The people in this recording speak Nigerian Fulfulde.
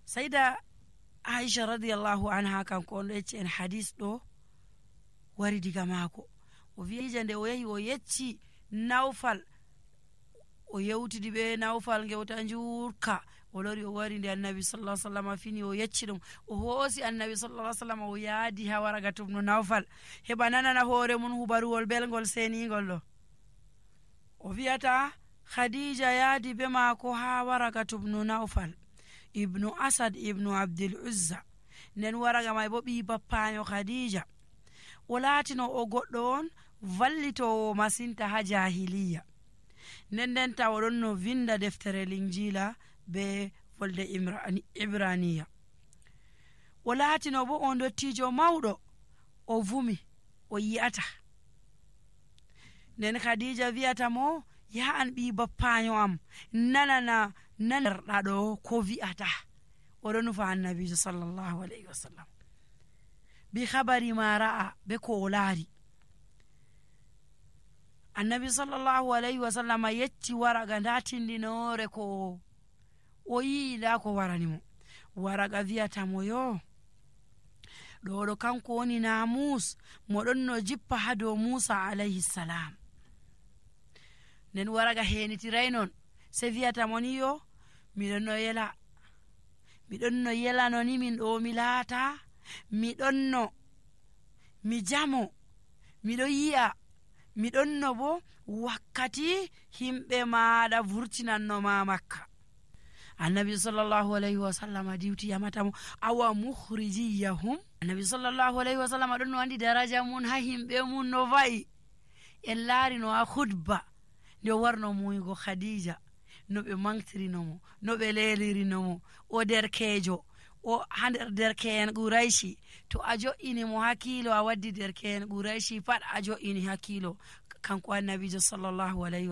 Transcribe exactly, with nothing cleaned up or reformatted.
sayda Aisha radiyallahu anha kanko on ɗo yecci en hadis ɗo wari diga maako. O wiija nde o yahi o yecci Nawfal, o yewtidi ɓe Nawfal ngewta njuurka, o lori o wari nde annabi sallallahu alaihi wasallam fini o yecci ɗum, o hoosi annabi sallallahu alaihi wasallam o yaadi ha Waragatu ibn Nawfal heɓa nanana hoore mun hubaruwol belgol senigol ɗo. O wiyata Khadija yaadi be maako ha Waragatu ibn Nawfal ibnu Asad ibnu Abdul Uzza, nden Waraga may bo ɓi bappaño Khadija. O laatino o goɗɗo on vallitowo masinta ha jahiliya, nden nden ta oɗon no vinda deftere Linjila be volde Ibraniya. O laatino bo on dottijo mawɗo, o vumi o yi'ata. Nden Khadija wiyata mo, ya an ɓi bappaño am, nanana nanarɗa ɗo ko wi'ata. Oɗo nufa annabijo sallallahu alaihi wasallam bi khabari ma ra'a, be ko o laari. Annabi sallallahu alaihi wasallam yecci Waraga nda tindinore ko o yi nda ko waranimo. Waraga wiyata mo, yo ɗo ɗo kanko woni namus moɗon no jippa ha dow Musa alayhi salam. Nden Waraga henitiray non, se wiyata mo ni, yo miɗon no yela miɗon no yelano ni min ɗo mi laata, miɗon no mi jamo, miɗo yi'a, miɗon no bo wakkati himɓe maɗa vurtinanno ma Makka. Annabi sallallahu alaihi wasallam diwti yamata mo, awa mukhrijiyahum. Annabi sallallahu alaihi wasallam ɗon no andi daraja mun ha himɓe mun no va'i. En laari no ha khutba nde warno muygo Khadija, no ɓe mantirinomo, no ɓe lelirinomo, o derkejo, o ha nder derke'en Quraishi. To a jo'ini mo hakkilo a waddi derke'en Quraishi pat a jo'ini hakkilo kanko annabijo sallallahu alaihi